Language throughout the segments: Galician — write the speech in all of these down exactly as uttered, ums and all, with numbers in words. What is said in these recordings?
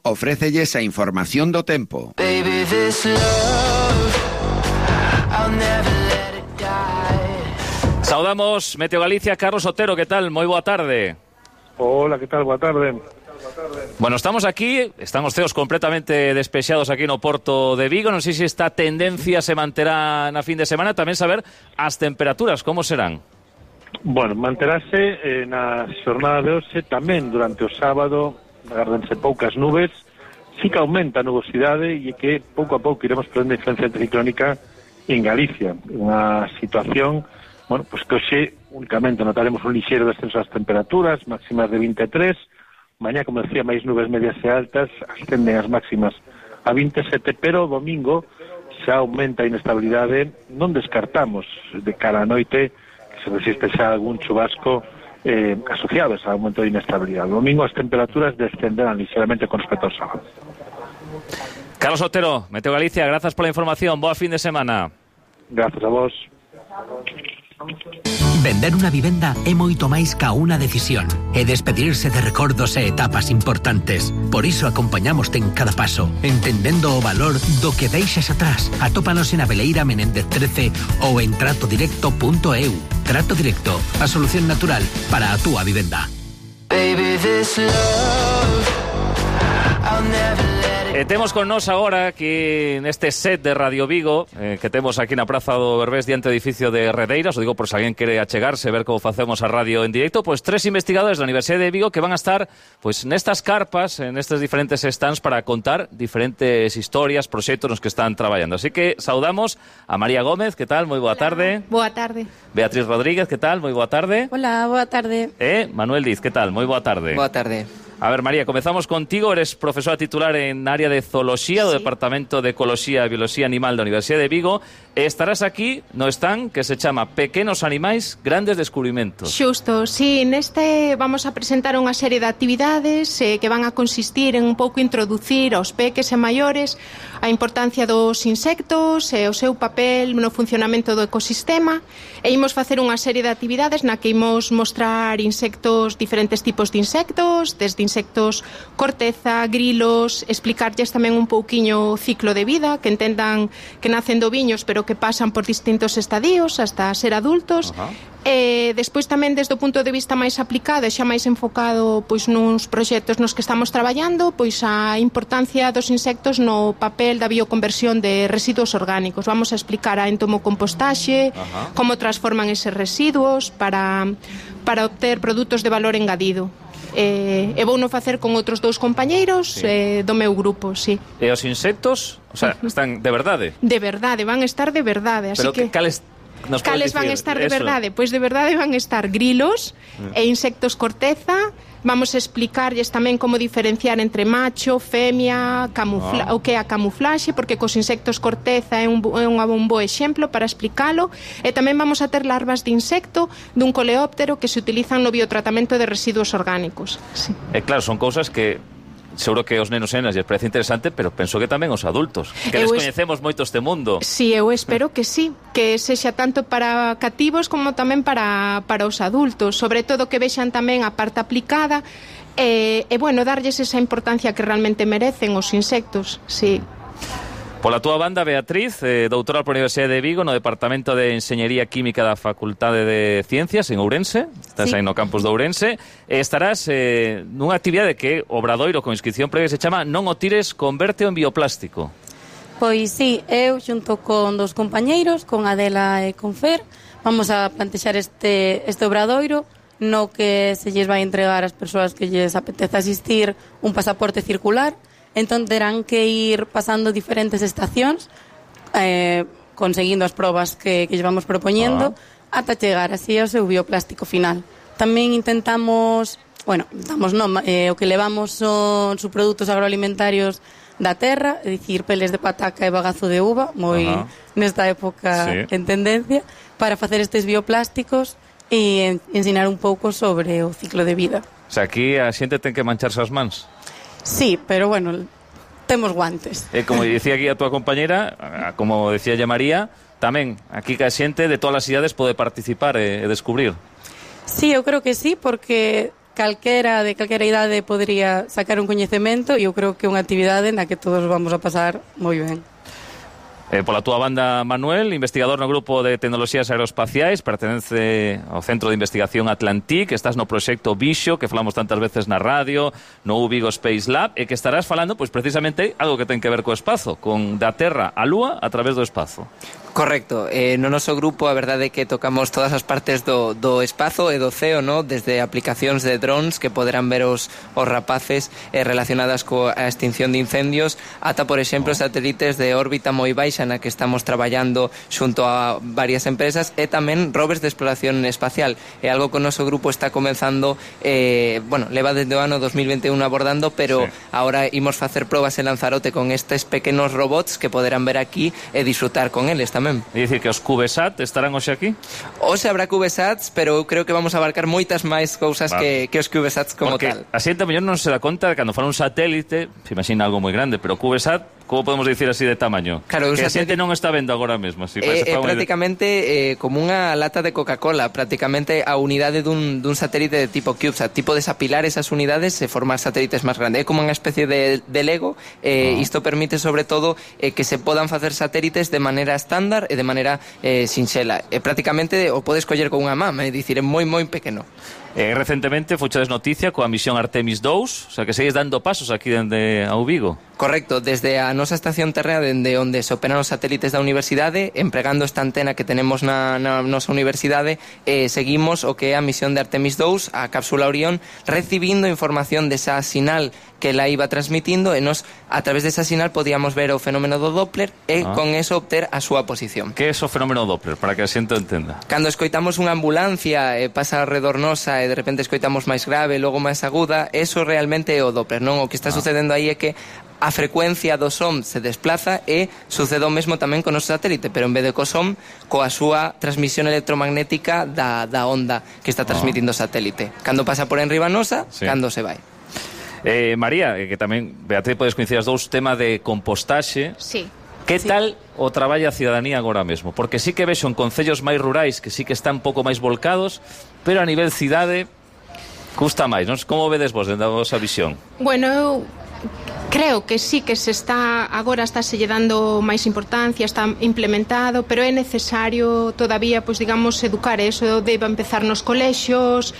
ofrécelles a información do tempo. Baby, this love, I'll never let it die. Saudamos Meteo Galicia, Carlos Otero, que tal? Moi boa tarde. Hola, que tal? Boa tarde. Bueno, estamos aquí, están os ceos completamente despexados aquí no Porto de Vigo. Non sei se esta tendencia se manterá na fin de semana. Tamén saber as temperaturas, como serán? Bueno, manterase eh, na xornada de hoxe, tamén durante o sábado, agárdense poucas nubes, sí que aumenta a nubosidade e que pouco a pouco iremos perdendo influencia anticiclónica en Galicia. Unha situación, bueno, pues que hoxe únicamente notaremos un lixeiro descenso das temperaturas, máximas de vinte e tres, mañá, como decía, máis nubes medias e altas, ascenden as máximas a vinte e sete, pero o domingo xa aumenta a inestabilidade, non descartamos de cara a noite que se resiste xa algún chubasco Eh, asociados a aumento de inestabilidad. El domingo as temperaturas descenderán ligeramente con respecto ao sábado. Carlos Otero, Meteo Galicia, grazas pola información. Boa fin de semana. Grazas a vos. Vender unha vivenda é moito máis ca unha decisión e despedirse de recordos e etapas importantes. Por iso acompañamoste en cada paso, entendendo o valor do que deixas atrás. Atópanos en Abeleira Menéndez trece ou en trato directo punto e u. Trato Directo, a solución natural para a túa vivenda. Baby, this love, I'll never let it E temos con nós agora aquí neste set de Radio Vigo, eh, que temos aquí na Praza do Berbés diante do edificio de Redeiras, o digo por se alguén quere achegarse, ver como facemos a radio en directo, pois tres investigadores da Universidade de Vigo que van a estar pois nestas carpas, en estes diferentes stands para contar diferentes historias, proxectos nos que están traballando. Así que saudamos a María Gómez, que tal? Moi boa tarde. Boa tarde. Beatriz Rodríguez, que tal? Moi boa tarde. Hola, boa tarde. E Manuel Diz, que tal? Moi boa tarde. Boa tarde. A ver, María, comezamos contigo. Eres profesora titular en área de zooloxía do Sí. Departamento de Ecoloxía e Bioloxía Animal da Universidade de Vigo e estarás aquí no stand que se chama Pequenos Animais, Grandes Descubrimentos. Xusto, sí, neste vamos a presentar unha serie de actividades eh, que van a consistir en un pouco introducir aos peques e maiores a importancia dos insectos e o seu papel no funcionamento do ecosistema e imos facer unha serie de actividades na que imos mostrar insectos, diferentes tipos de insectos, desde insectos corteza, grilos, explicarlles tamén un pouquiño o ciclo de vida, que entendan que nacen do viños pero que pasan por distintos estadios hasta ser adultos. Ajá. E despois tamén desde o punto de vista máis aplicado e xa máis enfocado pois nuns proxectos nos que estamos traballando, pois a importancia dos insectos no papel da bioconversión de residuos orgánicos. Vamos a explicar a entomocompostaxe, Ajá. como transforman eses residuos para para obter produtos de valor engadido. E, e vou no facer con outros dous compañeiros Sí. eh, do meu grupo, sí. E os insectos, o sea, están de verdade. De verdade, van estar de verdade, así Pero que que cales nos cales podes van a dicir? estar de Eso. verdade? Pois de verdade van a estar grilos e insectos corteza. Vamos a explicarlles tamén como diferenciar entre macho, femia, camufla Ah. o que é a camuflaxe, porque cos insectos corteza é un, bo- é un bo exemplo para explicalo. E tamén vamos a ter larvas de insecto dun coleóptero que se utilizan no biotratamento de residuos orgánicos. Sí. E claro, son cousas que seguro que os nenos e nenas lles parece interesante, pero penso que tamén os adultos, que Eu es- descoñecemos moito este mundo. Si, eu espero que sí, que sexa tanto para cativos como tamén para, para os adultos, sobre todo que vexan tamén a parte aplicada e, e bueno, darlles esa importancia que realmente merecen os insectos, sí. Pola túa banda, Beatriz, eh, doutora pola Universidade de Vigo no Departamento de Enxeñería Química da Facultade de Ciencias en Ourense, estás Sí. aí no campus de Ourense, e estarás eh, nunha actividade que obradoiro con inscripción previa se chama Non o tires, converte en bioplástico. Pois sí, eu xunto con dos compañeiros, con Adela e con Fer, vamos a plantexar este, este obradoiro no que se lles vai entregar ás persoas que lles apetece asistir un pasaporte circular. Entón terán que ir pasando diferentes estacións eh, conseguindo as probas que, que lle vamos propoñendo Ah. ata chegar así ao seu bioplástico final. Tamén intentamos, bueno, intentamos non, eh, o que levamos son subprodutos agroalimentarios da terra, é dicir, peles de pataca e bagazo de uva, moi Ajá. nesta época Sí. en tendencia, para facer estes bioplásticos e en, ensinar un pouco sobre o ciclo de vida. O sea, aquí a xente ten que mancharse as mans. Sí, pero bueno, temos guantes. E como dicía aquí a túa compañera, a- como decía ya María, tamén aquí que a xente de todas as idades pode participar e, e descubrir. Sí, eu creo que sí, porque calquera de calquera idade podería sacar un coñecemento e eu creo que é unha actividade na que todos vamos a pasar moi ben. Eh, pola túa banda, Manuel, investigador no Grupo de Tecnoloxías Aeroespaciais, pertenece ao Centro de Investigación Atlantic, estás no proxecto Vixo, que falamos tantas veces na radio, no U Vigo Space Lab, e que estarás falando, pois precisamente, algo que ten que ver co espazo, con da Terra á Lúa a través do espazo. Correcto, eh, no noso grupo a verdade é que tocamos todas as partes do, do espazo e do ceo, no? Desde aplicacións de drones que poderán ver os, os rapaces eh, relacionadas coa extinción de incendios, ata, por exemplo, satélites de órbita moi baixa na que estamos traballando xunto a varias empresas, e tamén rovers de exploración espacial. É algo que o noso grupo está comenzando, eh, bueno, leva desde o ano dos mil vinte e un abordando, pero sí. Ahora imos facer probas en Lanzarote con estes pequenos robots que poderán ver aquí e disfrutar con eles tamén. É dicir que os CubeSat estarán hoxe aquí? Hoxe habrá CubeSats, pero eu creo que vamos a abarcar moitas máis cousas vale. que, que os CubeSats como Porque tal. Porque a xente mellor non se dá conta de cando fala un satélite, se imagina algo moi grande, pero CubeSat, como podemos dicir así de tamaño? Claro, que a xente non está vendo agora mesmo. Así, é, é prácticamente eh, como unha lata de Coca-Cola, prácticamente a unidade dun, dun satélite de tipo CubeSat. Tipo desapilar esas unidades e formar satélites máis grandes. É como unha especie de, de Lego. Eh, oh. Isto permite, sobre todo, eh, que se podan facer satélites de maneira estándar e de maneira eh, sinxela. Eh, prácticamente o podes coller con unha mama, é dicir, é moi, moi pequeno. Eh, recentemente fochedes noticia coa misión Artemis dous, o sea que segues dando pasos aquí dende a Vigo. Correcto, desde a nosa estación terrena, dende onde se operan os satélites da universidade, empregando esta antena que tenemos na, na nosa universidade, eh, seguimos o que é a misión de Artemis dous, a cápsula Orión, recibindo información desa sinal que la iba transmitindo, e nos, a través desa sinal, podíamos ver o fenómeno do Doppler e ah. con eso obter a súa posición. Que é o fenómeno Doppler, para que a xente entenda? Cando escoitamos unha ambulancia e eh, pasa alrededor nosa e de repente escoitamos máis grave, logo máis aguda, eso realmente é o Doppler, non? O que está ah. sucedendo aí é que a frecuencia do som se desplaza e sucede o mesmo tamén con o noso satélite, pero en vez de co som, coa súa transmisión electromagnética da, da onda que está transmitindo o satélite. Cando pasa por enriba nosa, sí. Cando se vai. Eh, María, que tamén, Beatriz, podes coincidir as dous, tema de compostaxe. Sí. Que sí. tal o traballa a cidadanía agora mesmo? Porque sí que vexo en concellos máis rurais que sí que están un pouco máis volcados, pero a nivel cidade custa máis, non? Como vedes vos dentro da vosa visión? Bueno, eu creo que sí que se está agora está se lle dando máis importancia, está implementado, pero é necesario todavía, pois digamos, educar eso, debe empezar nos colexios,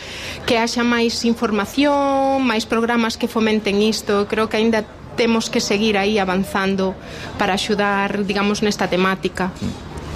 que haxa máis información, máis programas que fomenten isto. Creo que aínda temos que seguir aí avanzando para axudar, digamos, nesta temática.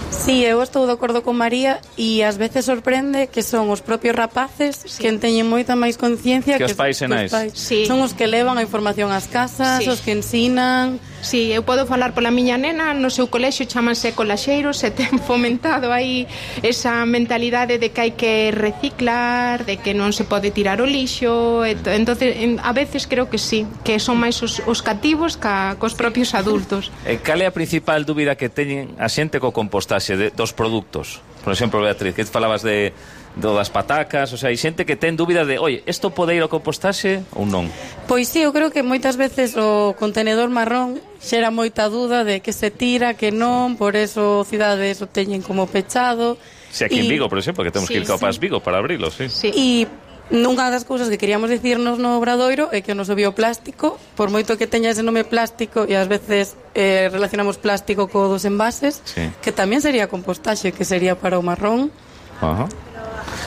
Sí, eu estou de acordo con María e ás veces sorprende que son os propios rapaces sí. que teñen moita máis conciencia que, que os pais e nais. Sí. Son os que levan a información ás casas, sí. os que ensinan. Sí, eu podo falar pola miña nena, no seu colexio chamanse colaxeiros e ten fomentado aí esa mentalidade de que hai que reciclar, de que non se pode tirar o lixo. Entonces, a veces creo que sí, que son máis os, os cativos ca, cos propios adultos. E cal é a principal dúbida que teñen a xente co compostaxe de, dos produtos? Por exemplo, Beatriz, que falabas de do das patacas, o sea, hai xente que ten dúbida de, oye, isto pode ir ao compostaxe ou non? Pois sí, eu creo que moitas veces o contenedor marrón xera moita dúda de que se tira, que non, por eso cidades o teñen como pechado. Si aquí y... en Vigo, por exemplo, que temos sí, que ir ao sí. Pas Vigo para abrilo, sí. sí. E nunha das cousas que queríamos dicirnos no Obradoiro é que o noso bioplástico, por moito que teña ese nome plástico, e ás veces eh, relacionamos plástico co dos envases, sí. que tamén sería compostaxe, que sería para o marrón. Ajá.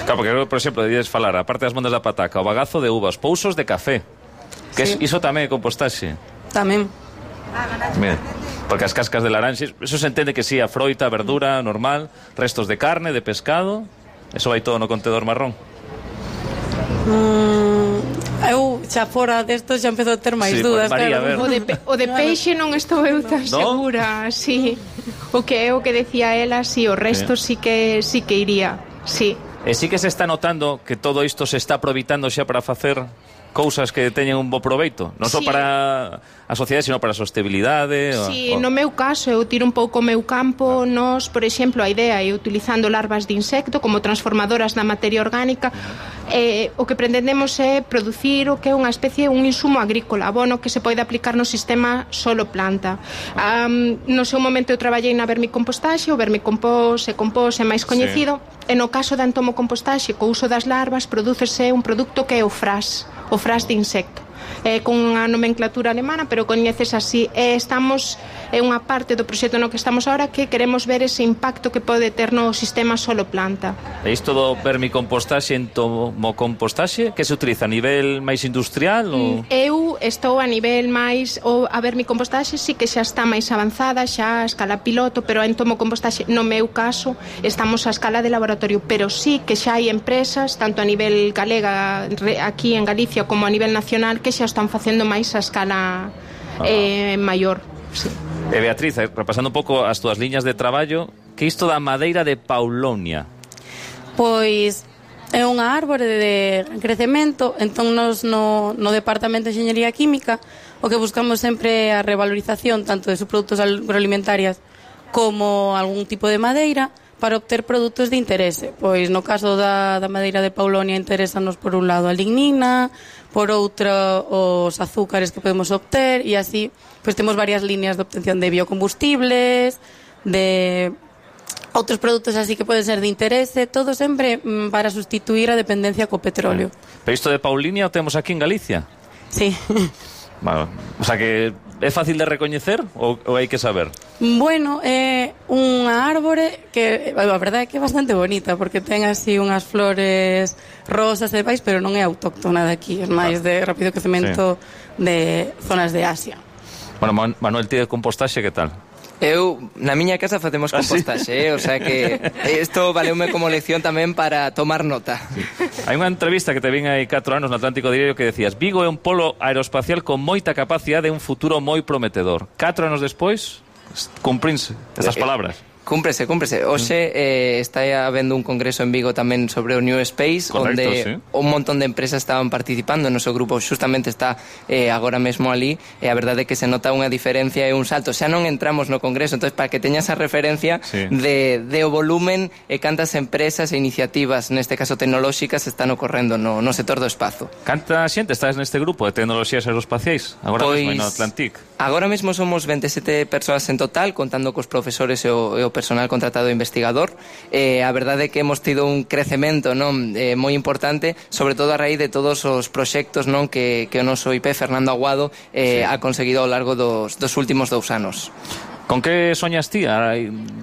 Claro, porque, por exemplo, debías falar, a parte das mondas da pataca, o bagazo de uvas, pousos de café, que sí. es, iso tamén é compostaxe. Tamén. Mira, porque as cascas de laranxes, eso se entende que sí, a froita, a verdura, normal, restos de carne, de pescado, eso vai todo no contenedor marrón. Mm, eu xa fora desto xa empezo a ter máis sí, dúdas, pues, María, claro. O de, pe, o de peixe non estou eu tan ¿no? segura, sí. O que é o que decía ela, sí, o resto sí, sí que sí que iría, sí. E sí que se está notando que todo isto se está aproveitando xa para facer cousas que teñen un bo proveito, non só sí. para a sociedade, sino para a sostenibilidade. Sí, o... no meu caso, eu tiro un pouco o meu campo, nos, por exemplo, a idea é utilizando larvas de insecto como transformadoras da materia orgánica. Eh, o que pretendemos é producir o que é unha especie, un insumo agrícola, abono que se pode aplicar no sistema solo planta. Um, no seu momento eu traballei na vermicompostaxe, o vermicompost e compost é máis coñecido, sí. E no caso da entomocompostaxe, co uso das larvas, prodúcese un produto que é o fras, o fras de insecto. Eh, con unha nomenclatura alemana, pero coñeces así. Eh, estamos, é unha parte do proxecto no que estamos ahora que queremos ver ese impacto que pode ter no sistema solo planta. E isto do vermicompostaxe e entomocompostaxe, que se utiliza a nivel máis industrial? Ou... Eu estou a nivel máis, ou a vermicompostaxe sí que xa está máis avanzada, xa a escala piloto, pero a entomocompostaxe, no meu caso, estamos a escala de laboratorio, pero sí que xa hai empresas, tanto a nivel galega, aquí en Galicia, como a nivel nacional, que xa están facendo máis a escala eh, maior. Sí. E Beatriz, repasando un pouco as túas liñas de traballo, que isto da madeira de Paulonia? Pois é unha árbore de crecemento, entón nos no, no Departamento de Enxeñería Química o que buscamos sempre é a revalorización tanto de subprodutos agroalimentarias como algún tipo de madeira para obter produtos de interese. Pois no caso da, da madeira de Paulonia interesanos por un lado a lignina, por outro os azúcares que podemos obter, e así pois temos varias líneas de obtención de biocombustibles, de outros produtos así que poden ser de interese, todo sempre mm, para sustituir a dependencia co petróleo. Pero isto de Paulinia o temos aquí en Galicia? Sí. Bueno, o sea que é fácil de recoñecer ou, ou hai que saber? Bueno, é unha árbore que a verdade é que é bastante bonita porque ten así unhas flores rosas e demais, pero non é autóctona de aquí, é máis de rápido crecemento sí. de zonas de Asia. Bueno, Manuel, ti de compostaxe, que tal? Eu, na miña casa facemos compostaxe, eh? O sea que isto valeume como lección tamén para tomar nota. Sí. Hai unha entrevista que te vin hai catro anos no Atlántico Diario que decías: Vigo é un polo aeroespacial con moita capacidade e un futuro moi prometedor. Catro anos despois, cumprinse estas palabras. Cúmprese, cúmprese. Hoxe eh, está habendo un congreso en Vigo tamén sobre o New Space. Correcto, onde sí. Un montón de empresas estaban participando. O noso grupo xustamente está eh, agora mesmo ali, e a verdade é que se nota unha diferencia e un salto. Xa non entramos no congreso, entonces para que teña esa referencia sí. de, de o volumen e cantas empresas e iniciativas, neste caso tecnolóxicas, están ocorrendo no, no sector do espazo. Canta xente estás neste grupo de tecnoloxías aeroespaciais? Agora pois, mesmo no Atlantic. Agora mesmo somos veintisiete persoas en total, contando cos profesores e o, e o personal contratado investigador. Eh, a verdade é que hemos tido un crecemento, non, eh, moi importante, sobre todo a raíz de todos os proxectos, non, que, que o noso I P, Fernando Aguado, eh, sí. ha conseguido ao largo dos, dos últimos dous anos. Con que soñas ti?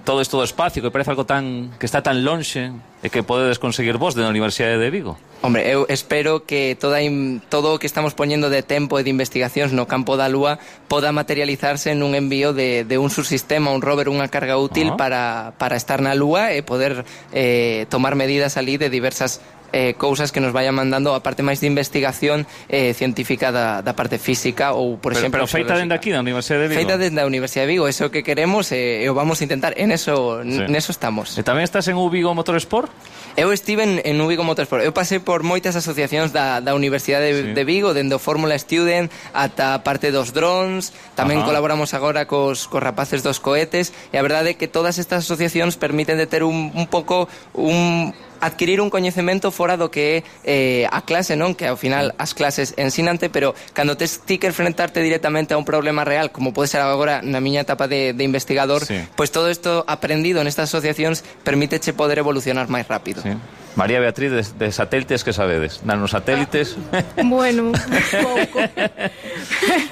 Todo isto do espacio que parece algo tan que está tan lonxe e que podedes conseguir vos da Universidade de Vigo. Hombre, eu espero que toda in, todo o que estamos poñendo de tempo e de investigacións no campo da Lúa poda materializarse nun envío de, de un subsistema, un rover, unha carga útil uh-huh. para, para estar na Lúa e poder eh, tomar medidas ali de diversas eh, cousas que nos vayan mandando a parte máis de investigación eh, científica da, da parte física ou, por pero, exemplo... Pero feita dende aquí, da Universidade de Vigo? Feita dende a Universidade de Vigo, eso que queremos e eh, o vamos a intentar, en eso, sí. neso estamos. E tamén estás en U Vigo Motorsport? Eu estive en, en U Vigo Motorsport. Eu pasei por moitas asociacións da, da Universidade de, sí. de Vigo, dende o Fórmula Student ata a parte dos drones, tamén Ajá. colaboramos agora cos, cos rapaces dos cohetes, e a verdade é que todas estas asociacións permiten de ter un, un pouco un adquirir un coñecemento fora do que é eh, a clase, non? Que ao final as clases ensinante, pero cando tes ti que enfrentarte directamente a un problema real, como pode ser agora na miña etapa de, de investigador, sí. pois pues todo isto aprendido nestas asociacións permíteche poder evolucionar máis rápido. Sí. María Beatriz, de, de satélites, que sabedes? Nanosatélites? Bueno, un pouco.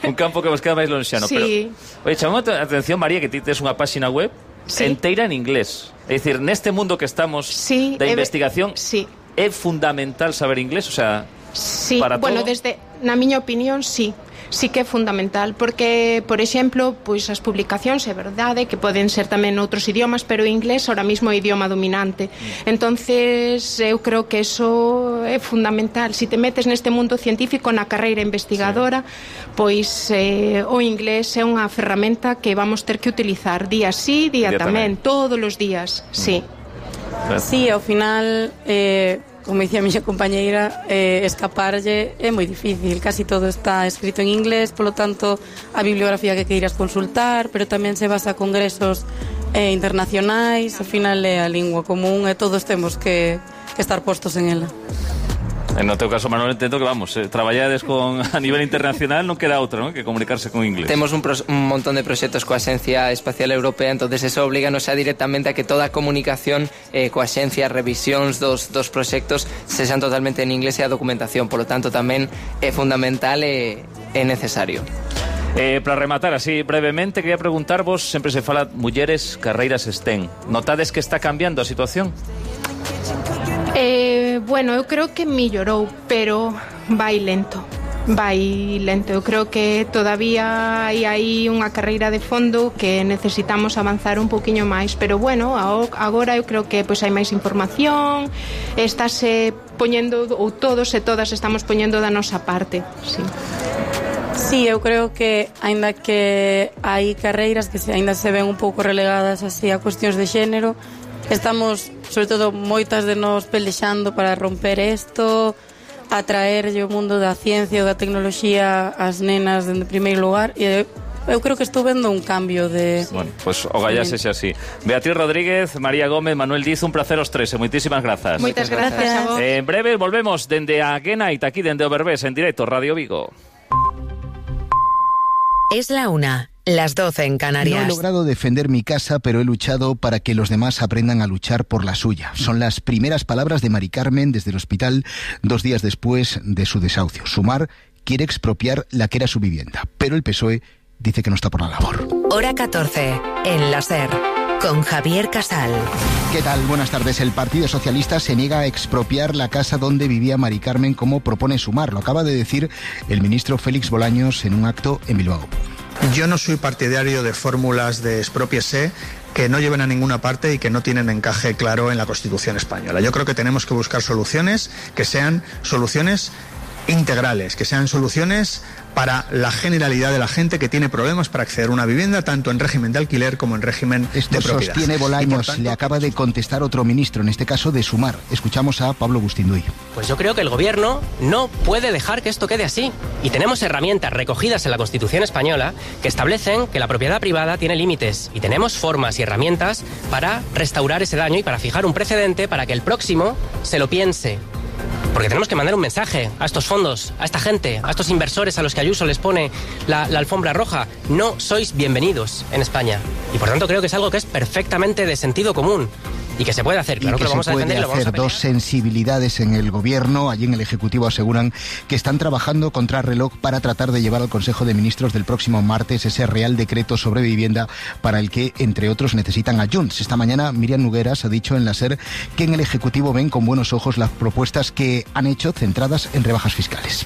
Un campo que vos queda máis lonxano. Sí. Pero, oye, chamamos a atención, María, que ti tes unha páxina web sí. enteira en inglés. É dicir, neste mundo que estamos sí, da investigación, sí. é fundamental saber inglés, o sea, sí. para bueno, todo. desde, na miña opinión, sí. Sí que é fundamental, porque, por exemplo, pois as publicacións é verdade que poden ser tamén outros idiomas, pero o inglés ahora mismo é o idioma dominante. Mm. Entonces, eu creo que eso é fundamental. Si te metes neste mundo científico, na carreira investigadora, sí. pois eh, o inglés é unha ferramenta que vamos ter que utilizar día sí, día, día tamén, tamén, todos os días, mm. sí. Sí, ao final... Eh... como dicía a miña compañeira, eh, escaparlle é moi difícil. Casi todo está escrito en inglés, polo tanto, a bibliografía que queiras consultar, pero tamén se basa a congresos eh, internacionais, ao final é a lingua común e todos temos que, que estar postos en ela. En no teu caso, Manuel, entendo que, vamos, eh, traballades con, a nivel internacional, non queda outra, ¿no?, que comunicarse con inglés. Temos un, pros, un montón de proxectos coa Axencia Espacial Europea, entonces eso obliganos a directamente a que toda a comunicación eh, coa Axencia, revisións dos, dos proxectos sexan totalmente en inglés e a documentación, polo tanto tamén é fundamental e é necesario. Eh, para rematar así brevemente, quería preguntarvos, sempre se fala mulleres, carreiras STEM. Notades que está cambiando a situación? Eh, bueno, eu creo que mellorou, pero vai lento. Vai lento. Eu creo que todavía hai aí unha carreira de fondo que necesitamos avanzar un poquinho máis, pero bueno, agora eu creo que pois hai máis información, estáse poñendo, ou todos e todas estamos poñendo da nosa parte. Sí. Sí, eu creo que aínda que hai carreiras que se, aínda se ven un pouco relegadas así a cuestións de xénero, estamos, sobre todo, moitas de nós pelexando para romper isto, atraerlle o mundo da ciencia ou da tecnoloxía ás nenas en primeiro lugar, e eu creo que estou vendo un cambio de... Bueno, pues ogallá sexe así. Beatriz Rodríguez, María Gómez, Manuel Diz, un placer os tres, e moitísimas grazas. Moitas grazas a vos. En breve volvemos dende a Guenaita, aquí dende o Berbés, en directo, Radio Vigo. Es la una. Las doce en Canarias. No he logrado defender mi casa, pero he luchado para que los demás aprendan a luchar por la suya. Son las primeras palabras de Mari Carmen desde el hospital dos días después de su desahucio. Sumar quiere expropiar la que era su vivienda, pero el P S O E dice que no está por la labor. Hora catorce, en la SER, con Javier Casal. ¿Qué tal? Buenas tardes. El Partido Socialista se niega a expropiar la casa donde vivía Mari Carmen, como propone Sumar. Lo acaba de decir el ministro Félix Bolaños en un acto en Bilbao. Yo no soy partidario de fórmulas de expropiese que no lleven a ninguna parte y que no tienen encaje claro en la Constitución española. Yo creo que tenemos que buscar soluciones que sean soluciones integrales, que sean soluciones para la generalidad de la gente que tiene problemas para acceder a una vivienda, tanto en régimen de alquiler como en régimen Esto de propiedad. Sostiene Bolaños, tanto, le acaba de contestar otro ministro, en este caso de Sumar. Escuchamos a Pablo Bustinduy. Pues yo creo que el gobierno no puede dejar que esto quede así. Y tenemos herramientas recogidas en la Constitución española que establecen que la propiedad privada tiene límites. Y tenemos formas y herramientas para restaurar ese daño y para fijar un precedente para que el próximo se lo piense. Porque tenemos que mandar un mensaje a estos fondos, a esta gente, a estos inversores a los que Ayuso les pone la, la alfombra roja. No sois bienvenidos en España. Y por tanto creo que es algo que es perfectamente de sentido común. Y que se puede hacer, claro y que, que lo vamos se a puede defender y lo vamos a hacer. Dos sensibilidades en el gobierno, allí en el Ejecutivo aseguran que están trabajando contra reloj para tratar de llevar al Consejo de Ministros del próximo martes ese Real Decreto sobre vivienda para el que, entre otros, necesitan a Junts. Esta mañana Miriam Nogueras ha dicho en la SER que en el Ejecutivo ven con buenos ojos las propuestas que han hecho centradas en rebajas fiscales.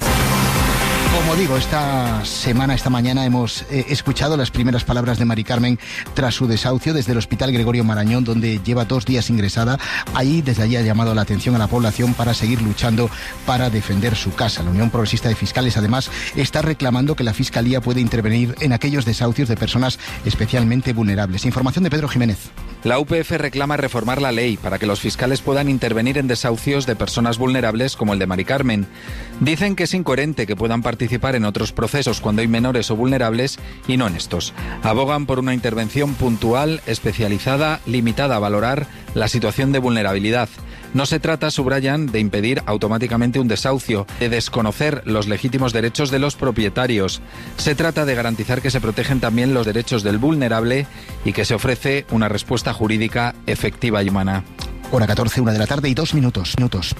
Como digo, esta semana, esta mañana hemos eh, escuchado las primeras palabras de Mari Carmen tras su desahucio desde el Hospital Gregorio Marañón, donde lleva dos días ingresada. Ahí, desde allí ha llamado la atención a la población para seguir luchando para defender su casa. La Unión Progresista de Fiscales, además, está reclamando que la Fiscalía puede intervenir en aquellos desahucios de personas especialmente vulnerables. Información de Pedro Jiménez. La U P F reclama reformar la ley para que los fiscales puedan intervenir en desahucios de personas vulnerables como el de Mari Carmen. Dicen que es incoherente que puedan participar en otros procesos cuando hay menores o vulnerables y no en estos. Abogan por una intervención puntual, especializada, limitada a valorar la situación de vulnerabilidad. No se trata, subrayan, de impedir automáticamente un desahucio, de desconocer los legítimos derechos de los propietarios. Se trata de garantizar que se protegen también los derechos del vulnerable y que se ofrece una respuesta jurídica efectiva y humana. Hora catorce, una de la tarde y dos minutos. minutos.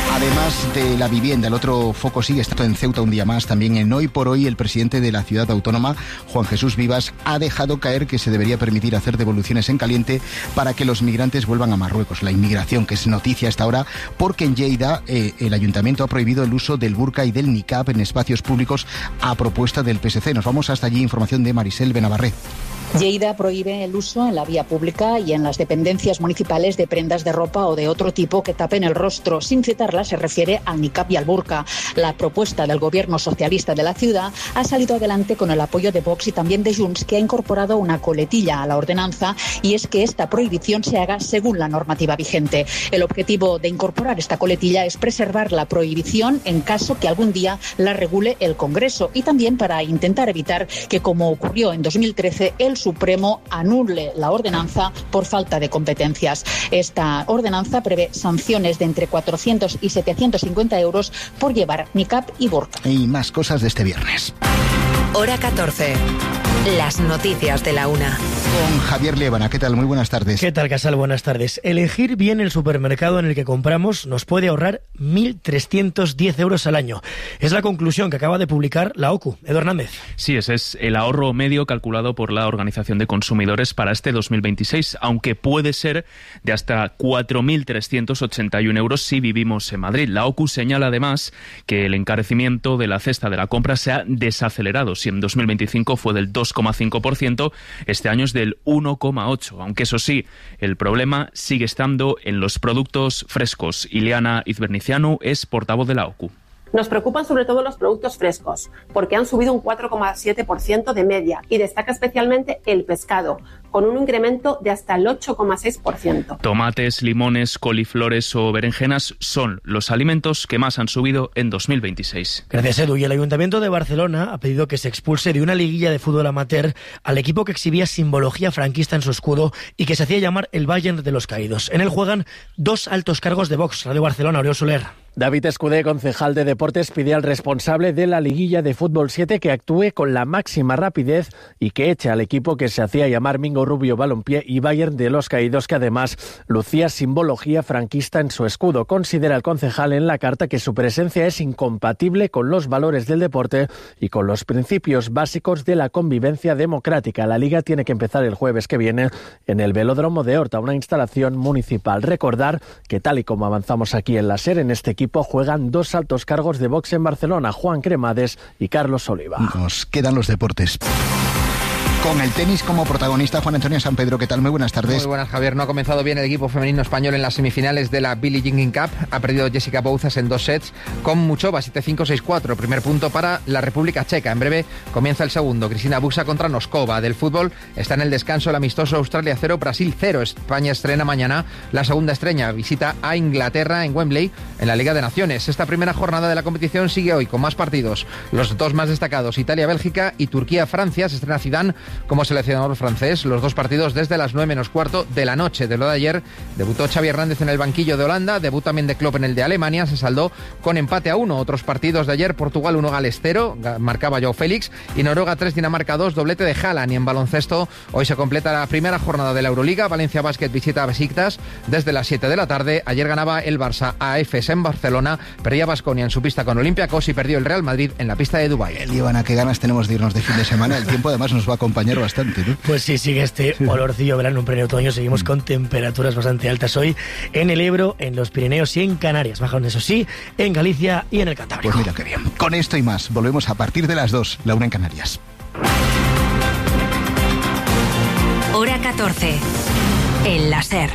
Además de la vivienda, el otro foco sigue estando en Ceuta un día más. También en Hoy por Hoy, el presidente de la ciudad autónoma, Juan Jesús Vivas, ha dejado caer que se debería permitir hacer devoluciones en caliente para que los migrantes vuelvan a Marruecos. La inmigración, que es noticia hasta ahora, porque en Lleida eh, el ayuntamiento ha prohibido el uso del burka y del niqab en espacios públicos a propuesta del P S C. Nos vamos hasta allí. Información de Marisel Benavarré. Lleida prohíbe el uso en la vía pública y en las dependencias municipales de prendas de ropa o de otro tipo que tapen el rostro. Sin citarla, se refiere al niqab y al burka. La propuesta del gobierno socialista de la ciudad ha salido adelante con el apoyo de Vox y también de Junts, que ha incorporado una coletilla a la ordenanza, y es que esta prohibición se haga según la normativa vigente. El objetivo de incorporar esta coletilla es preservar la prohibición en caso que algún día la regule el Congreso, y también para intentar evitar que, como ocurrió en dos mil trece, el Supremo anule la ordenanza por falta de competencias. Esta ordenanza prevé sanciones de entre cuatrocientos y setecientos cincuenta euros por llevar niqab y burka. Y más cosas de este viernes. Hora catorce. Las noticias de la una. Con Javier Liébana. ¿Qué tal? Muy buenas tardes. ¿Qué tal, Casal? Buenas tardes. Elegir bien el supermercado en el que compramos nos puede ahorrar mil trescientos diez euros al año. Es la conclusión que acaba de publicar la O C U. Edu Hernández. Sí, ese es el ahorro medio calculado por la Organización de Consumidores para este dos mil veintiséis, aunque puede ser de hasta cuatro mil trescientos ochenta y uno euros si vivimos en Madrid. La O C U señala además que el encarecimiento de la cesta de la compra se ha desacelerado. Si en dos mil veinticinco fue del dos coma cinco por ciento, este año es del uno coma ocho por ciento, aunque eso sí, el problema sigue estando en los productos frescos. Ileana Izbernicianu es portavoz de la O C U. Nos preocupan sobre todo los productos frescos, porque han subido un cuatro coma siete por ciento de media, y destaca especialmente el pescado, con un incremento de hasta el ocho coma seis por ciento. Tomates, limones, coliflores o berenjenas son los alimentos que más han subido en dos mil veintiséis. Gracias, Edu. Y el Ayuntamiento de Barcelona ha pedido que se expulse de una liguilla de fútbol amateur al equipo que exhibía simbología franquista en su escudo y que se hacía llamar el Bayern de los Caídos. En él juegan dos altos cargos de Vox. Radio Barcelona, Oriol Soler. David Escudé, concejal de Deportes, pide al responsable de la liguilla de fútbol siete que actúe con la máxima rapidez y que eche al equipo que se hacía llamar Mingo Rubio Balompié y Bayern de los Caídos, que además lucía simbología franquista en su escudo. Considera el concejal en la carta que su presencia es incompatible con los valores del deporte y con los principios básicos de la convivencia democrática. La liga tiene que empezar el jueves que viene en el Velódromo de Horta, una instalación municipal. Recordar que, tal y como avanzamos aquí en la SER, en este equipo juegan dos altos cargos de Vox en Barcelona, Juan Cremades y Carlos Oliva. Nos quedan los deportes. Con el tenis como protagonista, Juan Antonio San Pedro. ¿Qué tal? Muy buenas tardes. Muy buenas, Javier. No ha comenzado bien el equipo femenino español en las semifinales de la Billie Jean Cup. Ha perdido Jessica Bouzas en dos sets con Muchova, siete cinco, seis cuatro. Primer punto para la República Checa. En breve comienza el segundo. Cristina Buxa contra Noskova. Del fútbol está en el descanso el amistoso Australia cero, Brasil cero. España estrena mañana la segunda estrella. Visita a Inglaterra en Wembley en la Liga de Naciones. Esta primera jornada de la competición sigue hoy con más partidos. Los dos más destacados, Italia-Bélgica y Turquía-Francia. Se estrena Zidane como seleccionador francés. Los dos partidos desde las nueve menos cuarto de la noche. De lo de ayer, debutó Xavi Hernández en el banquillo de Holanda, debut también de Klopp en el de Alemania, se saldó con empate a uno. Otros partidos de ayer, Portugal uno, Gales cero, marcaba Joao Félix, y Noruega tres, Dinamarca dos, doblete de Haaland. Y en baloncesto, hoy se completa la primera jornada de la Euroliga. Valencia Basket visita a Besiktas desde las siete de la tarde. Ayer ganaba el Barça a Efes en Barcelona, perdía Baskonia en su pista con Olympiacos y perdió el Real Madrid en la pista de Dubái. Líbana, qué ganas tenemos de irnos de fin de semana. El tiempo además nos va a acompañar bastante, ¿no? Pues sí, sigue este olorcillo verano, un pleno otoño. Seguimos con temperaturas bastante altas hoy en el Ebro, en los Pirineos y en Canarias. Bajan, eso sí, en Galicia y en el Cantábrico. Pues mira qué bien. Con esto y más, volvemos a partir de las dos, la una en Canarias. Hora catorce. En la SER.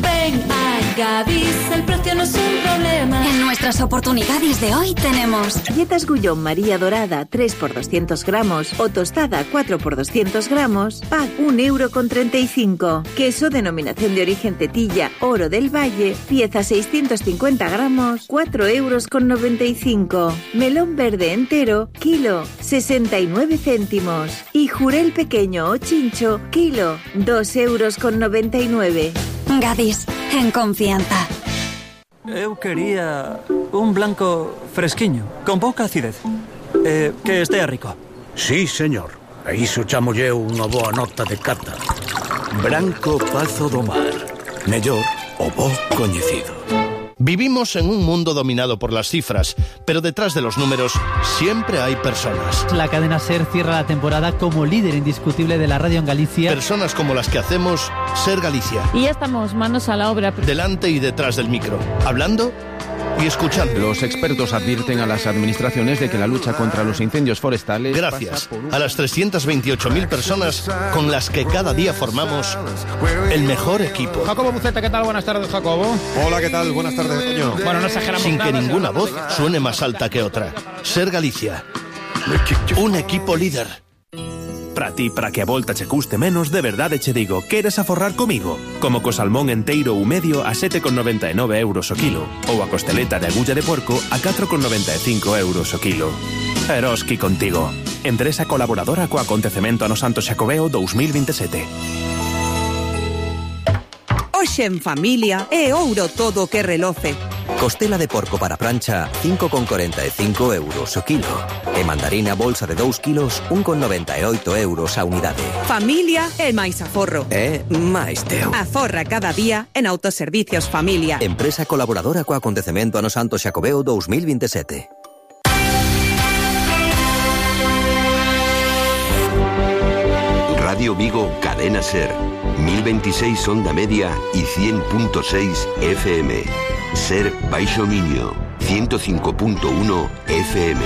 Ven a Gadis, el precio no es un problema. En nuestras oportunidades de hoy tenemos galletas Gullón María Dorada tres por doscientos gramos o tostada cuatro por doscientos gramos, pack un euro con treinta y cinco. Queso denominación de origen Tetilla Oro del Valle, pieza seiscientos cincuenta gramos, cuatro euros con noventa y cinco. Melón verde entero, kilo, sesenta y nueve céntimos. Y jurel pequeño o chincho, kilo, dos euros con noventa y nueve. Gadis, en confianza. Eu quería un blanco fresquiño, con pouca acidez, eh, que estea rico. Sí, señor. E iso chamo eu unha boa nota de cata. Branco Pazo do Mar. Mellor o bo coñecido. Vivimos en un mundo dominado por las cifras, pero detrás de los números siempre hay personas. La cadena SER cierra la temporada como líder indiscutible de la radio en Galicia. Personas como las que hacemos SER Galicia. Y ya estamos manos a la obra. Delante y detrás del micro, hablando y escuchando. Los expertos advierten a las administraciones de que la lucha contra los incendios forestales... Gracias a las trescientas veintiocho mil personas con las que cada día formamos el mejor equipo. Jacobo Buceta, ¿qué tal? Buenas tardes, Jacobo. Hola, ¿qué tal? Buenas tardes, Toño. Bueno, no exageramos Sin nada, que ninguna ¿sí? voz suene más alta que otra. Ser Galicia. Un equipo líder. Para ti, para que a volta che custe menos, de verdade che digo, queres aforrar comigo? Como co salmón enteiro ou medio a sete con noventa e nove euros o kilo, ou a costeleta de agulla de porco a catro con noventa e cinco euros o kilo. Eroski contigo. Empresa colaboradora co acontecemento Ano Santo Xacobeo dous mil veintisiete. Hoxe en familia é ouro todo o que reloce. Costela de porco para plancha, cinco con corenta e cinco euros o kilo. E mandarina bolsa de dous kilos, un con noventa e oito euros a unidade. Familia é máis aforro. É máis teu. Aforra cada día en Autoservicios Familia. Empresa colaboradora co acontecemento Ano Santo Xacobeo dous mil veintisiete. Radio Vigo, Cadena Ser. mil veintiséis onda media y cien punto seis F M. Ser Baixo Miño, ciento cinco punto uno F M.